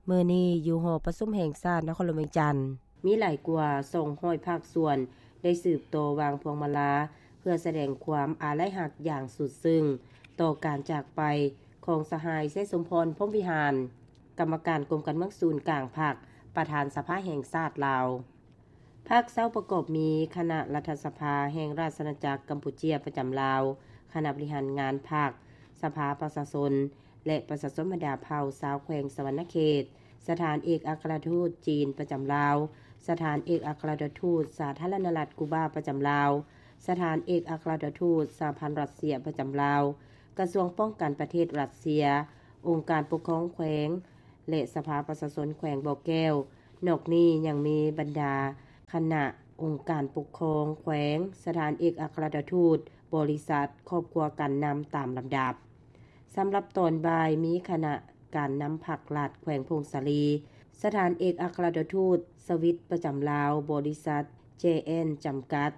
ມື້ນີ້ຢູ່ຫໍປະຊຸມແຫ່ງຊາດນະຄອນຫຼວງວຽງຈັນ. ມີຫຼາຍກວ່າສອງຮ້ອຍພາກສ່ວນໄດ້ສືບຕໍ່ວາງພວງມາລາ ເພື່ອສະແດງຄວາມອາໄລຮັກຢ່າງສຸດຊຶ້ງຕໍ່ການຈາກໄປຂອງສະຫາຍ ໄຊສົມພອນ ພົມວິຫານ, ກຳມະການກົມການເມືອງສູນກາງພັກ, ປະທານສະພາແຫ່ງຊາດລາວ. ພາກເຊົ້າປະກອບມີຄະນະລັດຖະສະພາແຫ່ງລາຊະອານາຈັກກຳປູເຈຍປະຈຳລາວ, ຄະນະບໍລິຫານງານພັກ, ສະພາປະຊາຊົນ ແລະ ປະຊາຊົນບັນດາເຜົ່າຊາວແຂວງສະຫວັນນະເຂດ, ສະຖານເອກອັກຄະລັດຖະທູດຈີນປະຈຳລາວ, ສະຖານເອກອັກຄະລັດຖະທູດສາທາລະນະລັດກູບາປະຈຳລາວ, ສະຖານເອກອັກຄະລັດຖະທູດສະຫະພັນຣັດເຊຍປະຈຳລາວ, ກະຊວງປ້ອງກັນປະເທດຣັດເຊຍ, ອົງການປົກຄອງແຂວງ ແລະ ສະພາປະຊາຊົນແຂວງບໍ່ແກ້ວ. ນອກນີ້ຍັງມີບັນດາຄະນະອົງການປົກຄອງແຂວງ, ສະຖານເອກອັກຄະລັດຖະທູດ, ບໍລິສັດ, ຄອບຄົວການນຳຕາມລຳດັບ. ສຳລັບຕອນບ່າຍມີຄະນະການນຳພັກລັດແຂວງຜົ້ງສາລີ, ສະຖານເອກອັກຄະລັດຖະທູດສະວິດປະຈຳລາວ, ບໍລິສັດ ເຈແອນ ຈຳກັດ,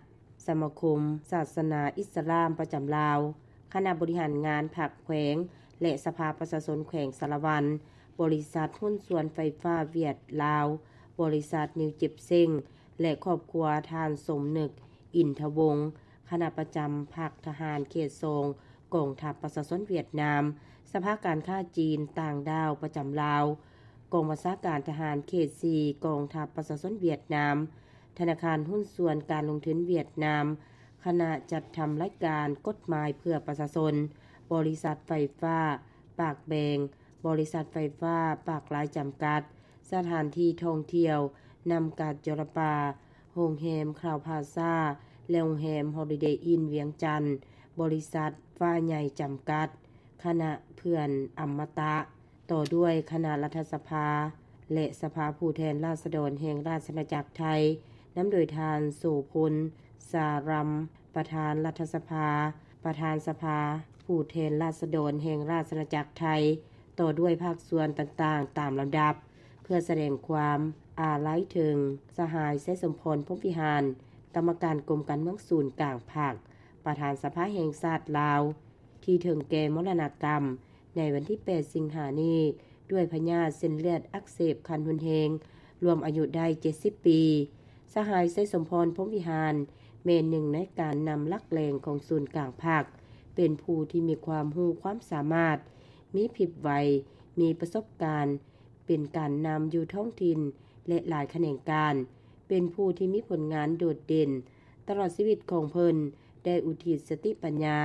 ສະມາຄົມສາສະໜາອິດສະລາມປະຈຳລາວ, ຄະນະບໍລິຫານງານພັກແຂວງ ແລະ ສະພາປະຊາຊົນແຂວງສາລະວັນ, ບໍລິສັດຫຸ້ນສ່ວນໄຟຟ້າຫວຽດລາວ, ບໍລິສັດນິວເຈັບເຊັງ ແລະ ຄອບຄົວທ່ານສົມນຶກ ອິນທະວົງ, ຄະນະປະຈຳພັກທະຫານເຂດສອງ ກອງທັບປະຊາຊົນຫວຽດນາມ, ສະພາການຄ້າຈີນຕ່າງດ້າວປະຈຳລາວ, ກອງບັນຊາການທະຫານເຂດສີ່ ກອງທັບປະຊາຊົນຫວຽດນາມ, ທະນາຄານຫຸ້ນສ່ວນການລົງທຶນຫວຽດນາມ, ຄະນະຈັດທຳລາຍການກົດໝາຍເພື່ອປະຊາຊົນ, ບໍລິສັດໄຟຟ້າປາກແບງ, ບໍລິສັດໄຟຟ້າປາກລາຍຈຳກັດ, ສະຖານທີ່ທ່ອງທ່ຽວ ນ້ຳກາດຈໍລະປາ, ໂຮງແຮມຄາວພາຊາ ແລະ ໂຮງແຮມຮອລິເດອິນວຽງຈັນ, ບໍລິສັດຟ້າໃຫຍ່ຈຳກັດ, ຄະນະເພື່ອນອຳມະຕະ. ຕໍ່ດ້ວຍຄະນະລັດຖະສະພາ ແລະ ສະພາຜູ້ແທນລາຊະດອນແຫ່ງລາຊະອານາຈັກໄທ, ນຳໂດຍທ່ານ ໂສພົນ ສາຣຳ ປະທານລັດຖະສະພາ, ປະທານສະພາຜູ້ແທນລາຊະດອນແຫ່ງລາຊະອານາຈັກໄທ, ຕໍ່ດ້ວຍພາກສ່ວນຕ່າງໆຕາມລຳດັບ, ເພື່ອສະແດງຄວາມອາໄລເຖິງສະຫາຍ ໄຊສົມພອນ ພົມວິຫານ, ກຳມະການກົມການເມືອງສູນກາງພັກ, ປະທານສະພາແຫ່ງຊາດລາວ, ທີ່ເຖິງແກ່ມໍລະນະກຳໃນວັນທີແປດ ສິງຫານີ້ ດ້ວຍພະຍາດເສັ້ນເລືອດອັກເສບຂັ້ນຮຸນແຮງ, ລວມອາຍຸໄດ້ເຈັດສິບປີ. ສະຫາຍ ໄຊສົມພອນ ພົມວິຫານ ແມ່ນໜຶ່ງໃນການນຳຫຼັກແຫຼ່ງຂອງສູນກາງພັກ, ເປັນຜູ້ທີ່ມີຄວາມຮູ້ຄວາມສາມາດ, ມີພິບໄວ, ມີປະສົບການ, ເປັນການນຳຢູ່ທ້ອງຖິ່ນ ແລະ ຫຼາຍຂະແໜງການ, ເປັນຜູ້ທີ່ມີຜົນງານໂດດເດັ່ນ. ຕະຫຼອດຊີວິດຂອງເພິ່ນໄດ້ອຸທິດສະຕິປັນຍາ,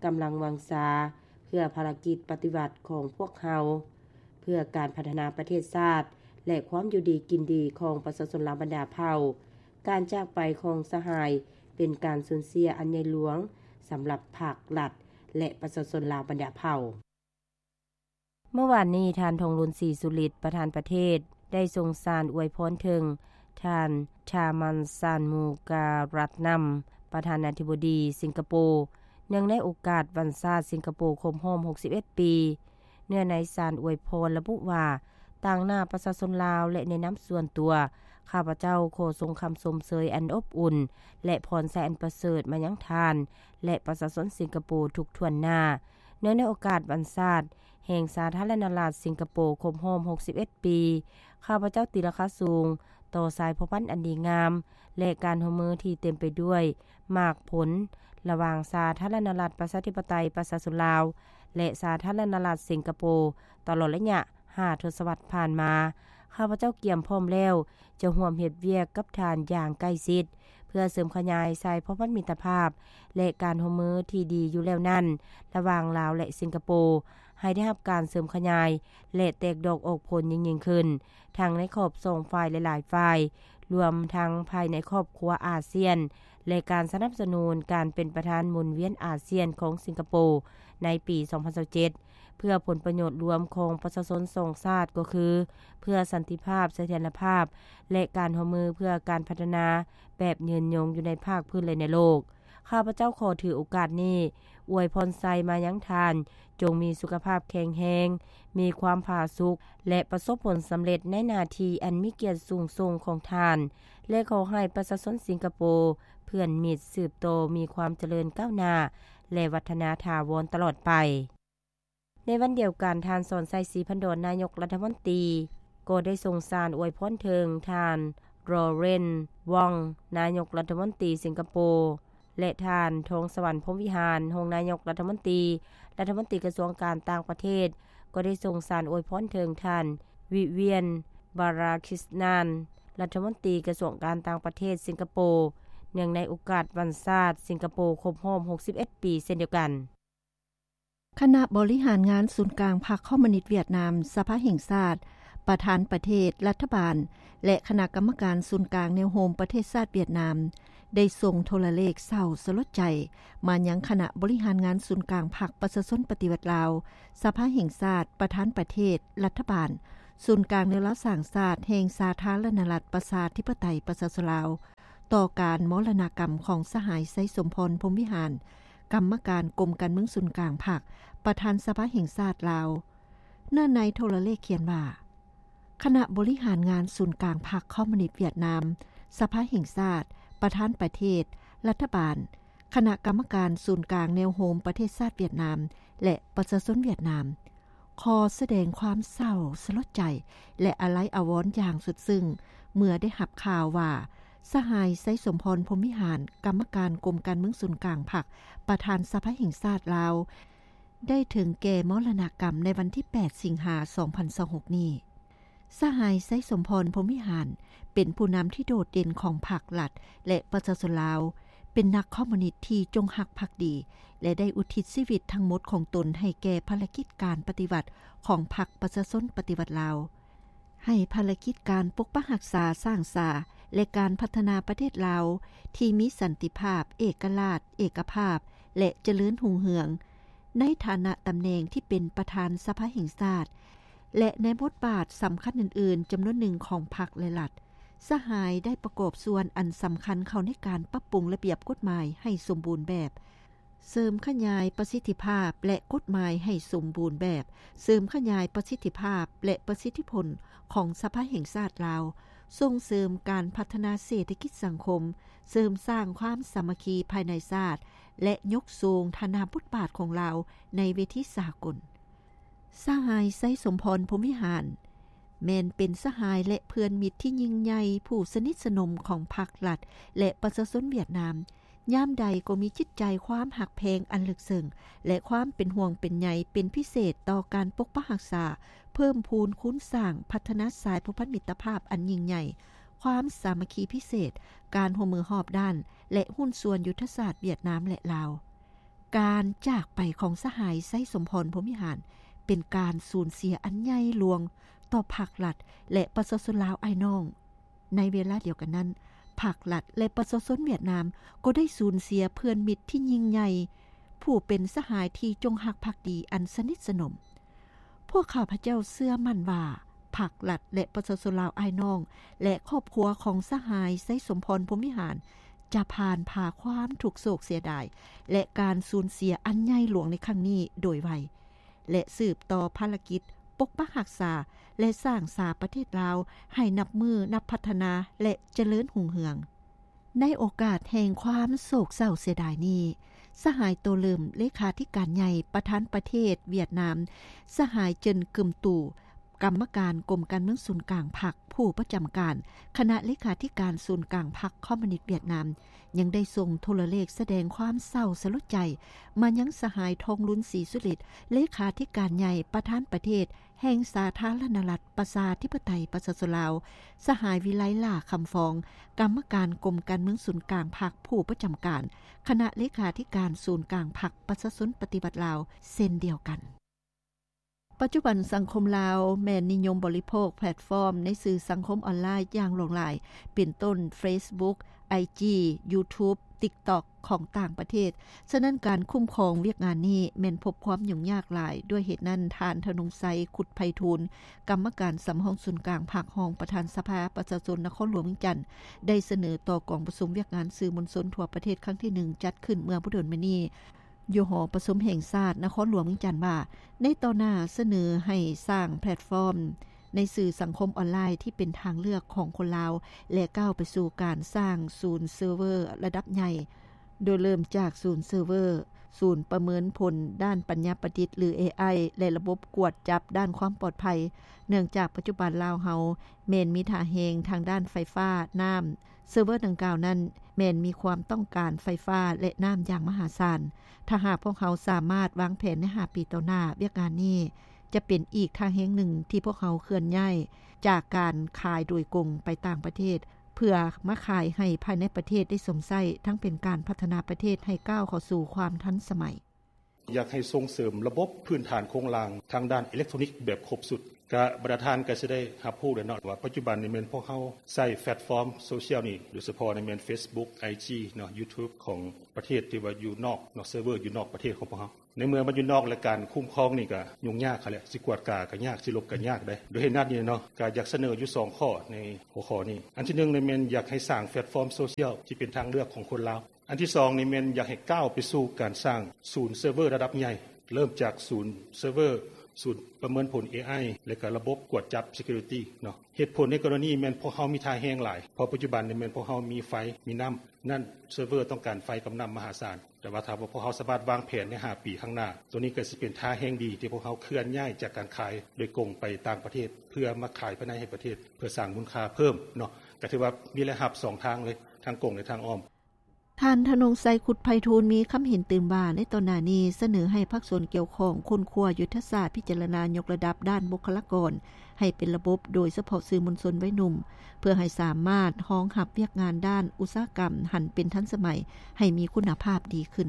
ກຳລັງວັງຊາ ເພື່ອພາລະກິດປະຕິວັດຂອງພວກເຮົາ, ເພື່ອການພັດທະນາປະເທດຊາດ ແລະ ຄວາມຢູ່ດີກິນດີຂອງປະຊາຊົນລາວບັນດາເຜົ່າ. ການຈາກໄປຂອງສະຫາຍເປັນການສູນເສຍອັນໃຫຍ່ຫຼວງສຳລັບພັກ, ລັດ ແລະ ປະຊາຊົນລາວບັນດາເຜົ່າ. ເມື່ອວານນີ້, ທ່ານ ທອງລຸນ ສີສຸລິດ ປະທານປະເທດ ໄດ້ສົ່ງສານອວຍພອນເຖິງທ່ານ ທາມັນ ຊານມູກາຣັດນຳ ປະທານາທິບໍດີສິງກະໂປ, ເນື່ອງໃນໂອກາດວັນຊາດສິງກະໂປຄົບຮອບຫົກສິບເອັດປີ. ເນື້ອໃນສານອວຍພອນລະບຸວ່າ, ຕາງໜ້າປະຊາຊົນລາວ ແລະ ໃນນາມສ່ວນຕົວ, ຂ້າພະເຈົ້າຂໍສົ່ງຄຳຊົມເຊີຍອັນອົບອຸ່ນ ແລະ ພອນໄຊອັນປະເສີດມາຍັງທ່ານ ແລະ ປະຊາຊົນສິງກະໂປທຸກຖ້ວນໜ້າ. ເນື່ອງໃນໂອກາດວັນຊາດແຫ່ງສາທາລະນະລັດສິງກະໂປຄົບຮອບຫົກສິບເອັດປີ, ຂ້າພະເຈົ້າຕີລາຄາສູງຕໍ່ສາຍພົວພັນອັນດີງາມ ແລະ ການຮ່ວມມືທີ່ເຕັມໄປດ້ວຍໝາກຜົນ ລະຫວ່າງສາທາລະນະລັດປະຊາທິປະໄຕປະຊາຊົນລາວ ແລະ ສາທາລະນະລັດສິງກະໂປ ຕະຫຼອດໄລຍະຫ້າທົດສະວັດຜ່ານມາ. ຂ້າພະເຈົ້າກຽມພ້ອມແລ້ວ ຈະຮ່ວມເຮັດວຽກກັບທ່ານຢ່າງໃກ້ຊິດ ເພື່ອເສີມຂະຫຍາຍສາຍພົວພັນມິດຕະພາບ ແລະ ການຮ່ວມມືທີ່ດີຢູ່ແລ້ວນັ້ນ ລະຫວ່າງລາວ ແລະ ສິງກະໂປ ໃຫ້ໄດ້ຮັບການເສີມຂະຫຍາຍ ແລະ ແຕກດອກອອກຜົນຍິ່ງໆຂຶ້ນ, ທັງໃນຂອບສອງຝ່າຍ ແລະ ຫຼາຍຝ່າຍ, ລວມທັງພາຍໃນຄອບຄົວອາຊຽນ ແລະ ການສະໜັບສະໜູນການເປັນປະທານໝູນວຽນອາຊຽນຂອງສິງກະໂປໃນປີສອງພັນຊາວເຈັດ ເພື່ອຜົນປະໂຫຍດລວມຂອງປະຊາຊົນສອງຊາດ ກໍຄື ເພື່ອສັນຕິພາບ, ສະຖຽນລະພາບ ແລະ ການຮ່ວມມືເພື່ອການພັດທະນາແບບຍືນຍົງຢູ່ໃນພາກພື້ນ ແລະ ໃນໂລກ. ຂ້າພະເຈົ້າຂໍຖືໂອກາດນີ້ອວຍພອນໄຊມາຍັງທ່ານ, ຈົ່ງມີສຸຂະພາບແຂງແຮງ, ມີຄວາມຜາສຸກ ແລະ ປະສົບຜົນສຳເລັດໃນໜ້າທີ່ອັນມີກຽດສູງສົ່ງຂອງທ່ານ ແລະ ຂໍໃຫ້ປະຊາຊົນສິງກະໂປ ເພື່ອນມິດ ສືບຕໍ່ມີຄວາມຈະເລີນກ້າວໜ້າ ແລະ ວັດທະນາຖາວອນຕະຫຼອດໄປ. ໃນວັນດຽວກັນ, ທ່ານ ສອນໄຊ ສີພັນດອນ ນາຍົກລັດຖະມົນຕີ, ກໍໄດ້ສົ່ງສານອວຍພອນເຖິງທ່ານ ໂຣເຣນ ວອງ ນາຍົກລັດຖະມົນຕີສິງກະໂປ ແລະ ທ່ານ ທອງສະຫວັນ ພົມວິຫານ ຮອງນາຍົກລັດຖະມົນຕີ, ລັດຖະມົນຕີກະຊວງການຕ່າງປະເທດ ກໍໄດ້ສົ່ງສານອວຍພອນເຖິງທ່ານ ວິວຽນ ບາຣາຄິສນານ ລັດຖະມົນຕີກະຊວງການຕ່າງປະເທດສິງກະໂປ ເນື່ອງໃນໂອກາດວັນຊາດສິງກະໂປຄົບຮອບຫົກສິບເອັດປີເຊັ່ນດຽວກັນ. ຄະນະບໍລິຫານງານສູນກາງພັກຄອມມູນິດຫວຽດນາມ ສະພາແຫ່ງຊາດ, ປະທານປະເທດ, ລັດຖະບານ ແລະ ຄະນະກຳມະການສູນກາງແນວໂຮມປະເທດຊາດຫວຽດນາມ ໄດ້ສົ່ງໂທລະເລກເສົ້າສະຫຼົດໃຈມາຍັງຄະນະບໍລິຫານງານສູນກາງພັກປະຊາຊົນປະຕິວັດລາວ, ສະພາແຫ່ງຊາດ, ປະທານປະເທດ, ລັດຖະບານ, ສູນກາງແນວລາວສ້າງຊາດແຫ່ງສາທາລະນະລັດ ປະຊາທິປະໄຕ ປະຊາຊົນລາວ ຕໍ່ການມໍລະນະກຳຂອງສະຫາຍ ໄຊສົມພອນ ພົມວິຫານ ກຳມະການກົມການເມືອງສູນກາງພັກ, ປະທານສະພາແຫ່ງຊາດລາວ. ເນື້ອໃນໂທລະເລກຂຽນວ່າ, ຄະນະບໍລິຫານງານສູນກາງພັກຄອມມູນິດຫວຽດນາມ, ສະພາແຫ່ງຊາດ, ປະທານປະເທດ, ລັດຖະບານ, ຄະນະກຳມະການສູນກາງແນວໂຮມປະເທດຊາດຫວຽດນາມ ແລະ ປະຊາຊົນຫວຽດນາມ ຂໍສະແດງຄວາມເສົ້າສະຫຼົດໃຈ ແລະ ອາໄລອາວອນຢ່າງສຸດຊຶ້ງ ເມື່ອໄດ້ຮັບຂ່າວວ່າ ສະຫາຍ ໄຊສົມພອນ ພົມວິຫານ ກຳມະການກົມການເມືອງສູນກາງພັກ, ປະທານສະພາແຫ່ງຊາດລາວ ໄດ້ເຖິງແກ່ມໍລະນະກຳໃນວັນທີແປດ ສິງຫາ ສອງພັນຊາວຫົກນີ້. ສະຫາຍ ໄຊສົມພອນ ພົມວິຫານ ເປັນຜູ້ນຳທີ່ໂດດເດັ່ນຂອງພັກລັດ ແລະ ປະຊາຊົນລາວ, ເປັນນັກຄອມມູນິດທີ່ຈົງຮັກພັກດີ ແລະ ໄດ້ອຸທິດຊີວິດທັງໝົດຂອງຕົນໃຫ້ແກ່ພາລະກິດການປະຕິວັດຂອງພັກປະຊາຊົນປະຕິວັດລາວ, ໃຫ້ພາລະກິດການປົກປັກຮັກສາ, ສ້າງສາ ແລະ ການພັດທະນາປະເທດລາວທີ່ມີສັນຕິພາບ, ເອກະລາດ, ເອກະພາບ ແລະ ຈະເລີນຮຸ່ງເຮືອງ ໃນຖານະຕຳແໜ່ງທີ່ເປັນປະທານສະພາແຫ່ງຊາດ ແລະ ໃນບົດບາດສຳຄັນອື່ນໆຈຳນວນໜຶ່ງຂອງພັກ ແລະ ລັດ, ສະຫາຍໄດ້ປະກອບສ່ວນອັນສຳຄັນເຂົ້າໃນການປັບປຸງລະບຽບກົດໝາຍໃຫ້ສົມບູນແບບ, ເສີມຂະຫຍາຍປະສິດທິພາບ ແລະ ກົດໝາຍໃຫ້ສົມບູນແບບ, ເສີມຂະຫຍາຍປະສິດທິພາບ ແລະ ປະສິດທິຜົນຂອງສະພາແຫ່ງຊາດລາວ, ສົ່ງເສີມການພັດທະນາເສດຖະກິດສັງຄົມ, ເສີມສ້າງຄວາມສາມັກຄີພາຍໃນຊາດ ແລະ ຍົກສູງຖານະບົດບາດຂອງລາວໃນເວທີສາກົນ. ສະຫາຍ ໄຊສົມພອນ ພົມວິຫານ ແມ່ນເປັນສະຫາຍ ແລະ ເພື່ອນມິດທີ່ຍິ່ງໃຫຍ່ ຜູ້ສະໜິດສະໜົມຂອງພັກລັດ ແລະ ປະຊາຊົນຫວຽດນາມ. ຍາມໃດກໍມີຈິດໃຈຄວາມຮັກແພງອັນເລິກເຊິ່ງ ແລະ ຄວາມເປັນຫ່ວງເປັນໃຍເປັນພິເສດຕໍ່ການປົກປັກຮັກສາ, ເພີ່ມພູນຄູນສ້າງ, ພັດທະນາສາຍພົວພັນມິດຕະພາບອັນຍິ່ງໃຫຍ່, ຄວາມສາມັກຄີພິເສດ, ການຮ່ວມມືຮອບດ້ານ ແລະ ຫຸ້ນສ່ວນຍຸດທະສາດຫວຽດນາມ ແລະ ລາວ. ການຈາກໄປຂອງສະຫາຍ ໄຊສົມພອນ ພົມວິຫານ ເປັນການສູນເສຍອັນໃຫຍ່ຫຼວງຕໍ່ພັກລັດ ແລະ ປະຊາຊົນລາວອ້າຍນ້ອງ. ໃນເວລາດຽວກັນນັ້ນ, ພັກລັດ ແລະ ປະຊາຊົນຫວຽດນາມກໍໄດ້ສູນເສຍເພື່ອນມິດທີ່ຍິ່ງໃຫຍ່, ຜູ້ເປັນສະຫາຍທີ່ຈົງຮັກພັກດີອັນສະໜິດສະໜົມ. ພວກຂ້າພະເຈົ້າເຊື່ອໝັ້ນວ່າ ພັກລັດ ແລະ ປະຊາຊົນລາວອ້າຍນ້ອງ ແລະ ຄອບຄົວຂອງສະຫາຍ ໄຊສົມພອນ ພົມວິຫານ ຈະຜ່ານຜ່າຄວາມທຸກໂສກເສຍດາຍ ແລະ ການສູນເສຍອັນໃຫຍ່ຫຼວງໃນຄັ້ງນີ້ໂດຍໄວ ແລະ ສືບຕໍ່ພາລະກິດປົກປັກຮັກສາ ແລະ ສ້າງສາປະເທດລາວໃຫ້ນັບມື້ນັບພັດທະນາ ແລະ ຈະເລີນຮຸ່ງເຮືອງ. ໃນໂອກາດແຫ່ງຄວາມໂສກເສົ້າເສຍດາຍນີ້, ສະຫາຍ ໂຕເລີມ ເລຂາທິການໃຫຍ່ ປະທານປະເທດຫວຽດນາມ, ສະຫາຍ ເຈິນ ກຶມຕູ ກຳມະການກົມການເມືອງສູນກາງພັກ, ຜູ້ປະຈຳການຄະນະເລຂາທິການສູນກາງພັກຄອມມູນິດຫວຽດນາມ ຍັງໄດ້ສົ່ງໂທລະເລກສະແດງຄວາມເສົ້າສະຫຼົດໃຈມາຍັງສະຫາຍ ທອງລຸນ ສີສຸລິດ ເລຂາທິການໃຫຍ່ ປະທານປະເທດ ແຫ່ງສາທາລະນະລັດ ປະຊາທິປະໄຕ ປະຊາຊົນລາວ, ສະຫາຍ ວິໄລ ຫຼ້າຄຳຟອງ ກຳມະການກົມການເມືອງສູນກາງພັກ, ຜູ້ປະຈຳການຄະນະເລຂາທິການສູນກາງພັກປະຊາຊົນປະຕິວັດລາວ ເຊັ່ນດຽວກັນ. ປັດຈຸບັນສັງຄົມລາວແມ່ນນິຍົມບໍລິໂພກແພລດຟອມໃນສື່ສັງຄົມອອນລາຍຢ່າງຫຼວງຫຼາຍ, ເປັນຕົ້ນ ເຟສບຸກ, ໄອຈີ, ຢູທູບ, ຕິກຕັອກ ຂອງຕ່າງປະເທດ. ສະນັ້ນ ການຄຸ້ມຄອງວຽກງານນີ້ແມ່ນພົບຄວາມຫຍຸ້ງຍາກຫຼາຍ. ດ້ວຍເຫດນັ້ນ, ທ່ານ ທະນົງໄຊ ຄຸດໄພທູນ ກຳມະການສຳຮອງສູນກາງພັກ, ຮອງປະທານສະພາປະຊາຊົນນະຄອນຫຼວງວຽງຈັນ ໄດ້ສະເໜີຕໍ່ກອງປະຊຸມວຽກງານສື່ມວນຊົນທົ່ວປະເທດຄັ້ງທີໜຶ່ງ ຈັດຂຶ້ນເມື່ອບໍ່ດົນມານີ້ ຢູ່ຫໍປະຊຸມແຫ່ງຊາດນະຄອນຫຼວງວຽງຈັນວ່າ, ໃນຕໍ່ໜ້າສະເໜີໃຫ້ສ້າງແພລດຟອມໃນສື່ສັງຄົມອອນລາຍທີ່ເປັນທາງເລືອກຂອງຄົນລາວ ແລະ ກ້າວໄປສູ່ການສ້າງສູນເຊີເວີລະດັບໃຫຍ່, ໂດຍເລີ່ມຈາກສູນເຊີເວີ ສູນປະເມີນຜົນດ້ານປັນຍາປະດິດ ຫຼື ເອໄອ ແລະ ລະບົບກວດຈັບດ້ານຄວາມປອດໄພ, ເນື່ອງຈາກປັດຈຸບັນລາວເຮົາແມ່ນມີທ່າແຮງທາງດ້ານໄຟຟ້າ, ນ້ຳ. ເຊີເວີດັ່ງກ່າວນັ້ນແມ່ນມີຄວາມຕ້ອງການໄຟຟ້າ ແລະ ນ້ຳຢ່າງມະຫາສານ. ຖ້າຫາກພວກເຮົາສາມາດວາງແຜນໃນຫ້າປີຕໍ່ໜ້າ, ວຽກງານນີ້ຈະເປັນອີກທ່າແຮງໜຶ່ງທີ່ພວກເຮົາເຄື່ອນຍ້າຍຈາກການຂາຍໂດຍກົງໄປຕ່າງປະເທດ ເພື່ອມາຂາຍໃຫ້ພາຍໃນປະເທດໄດ້ຊົມໃຊ້, ທັງເປັນການພັດທະນາປະເທດໃຫ້ກ້າວເຂົ້າສູ່ຄວາມທັນສະໄໝ. ຢາກໃຫ້ສົ່ງເສີມລະບົບພື້ນຖານໂຄງລ່າງທາງດ້ານເອເລັກໂທຣນິກແບບຄົບຊຸດ. ກະບັນດາທ່ານກະຊິໄດ້ຮັບຮູ້ແລ້ວເນາະ ວ່າປັດຈຸບັນນີ້ແມ່ນພວກເຮົາໃຊ້ແພລດຟອມໂຊຊຽວນີ້ ໂດຍສະເພາະໃນແມ່ນເຟສບຸກ, ໄອຈີ ເນາະ, ຢູທູບ ຂອງປະເທດທີ່ວ່າຢູ່ນອກເນາະ, ເຊີເວີຢູ່ນອກປະເທດຂອງພວກເຮົາ. ໃນເມື່ອມັນຢູ່ນອກ ແລະ ການຄຸ້ມຄອງນີ້ກະຫຍຸ້ງຍາກຫັ້ນແຫຼະ, ຊິກວດກາກະຍາກ, ຊິລົບກະຍາກເດ້. ໂດຍເຫດນັ້ນນີ້ເນາະ ກະຢາກສະເໜີຢູ່ສອງຂໍ້ໃນຫົວຂໍ້ນີ້. ອັນທີໜຶ່ງນີ້ແມ່ນຢາກໃຫ້ສ້າງແພລດຟອມໂຊຊຽວທີ່ເປັນທາງເລືອກຂອງຄົນລາວ. ອັນທີສອງນີ້ແມ່ນຢາກໃຫ້ກ້າວໄປສູ່ການສ້າງສູນເຊີເວີລະດັບໃຫຍ່, ເລີ່ມຈາກສູນເຊີເວີ, ສູນປະເມີນຜົນ ເອໄອ ແລະ ກະລະບົບກວດຈັບ Security ເນາະ. ເຫດຜົນໃນກໍລະນີແມ່ນພວກເຮົາມີທ່າແຮງຫຼາຍ, ເພາະປັດຈຸບັນນີ້ແມ່ນພວກເຮົາມີໄຟ, ມີນ້ຳ, ນັ້ນເຊີເວີຕ້ອງການໄຟກັບນ້ຳມະຫາສານ. ແຕ່ວ່າຖ້າວ່າພວກເຮົາສາມາດວາງແຜນໃນຫ້າປີຂ້າງໜ້າ, ໂຕນີ້ກໍຊິເປັນທ່າແຮງດີທີ່ພວກເຮົາເຄື່ອນຍ້າຍຈາກການຂາຍໂດຍກົງໄປຕ່າງປະເທດ ເພື່ອມາຂາຍພາຍໃນໃຫ້ປະເທດ ເພື່ອສ້າງມູນຄ່າເພີ່ມເນາະ. ກໍຖືວ່າມີລາຍຮັບສອງທາງເລີຍ, ທາງກົງ ແລະ ທາງອ້ອມ. ທ່ານ ທະນົງໄຊ ຄຸດໄພທູນ ມີຄຳເຫັນຕື່ມວ່າ ໃນຕອນໜ້ານີ້ສະເໜີໃຫ້ພາກສ່ວນກ່ຽວຂ້ອງຄົ້ນຄວ້າຍຸດທະສາດ, ພິຈາລະນາຍົກລະດັບດ້ານບຸກຄະລາກອນໃຫ້ເປັນລະບົບ, ໂດຍສະເພາະສື່ມວນຊົນວັຍໜຸ່ມ, ເພື່ອໃຫ້ສາມາດຮອງຮັບວຽກງານດ້ານອຸດສາຫະກຳຫັນເປັນທັນສະໄໝ, ໃຫ້ມີຄຸນນະພາບດີຂຶ້ນ.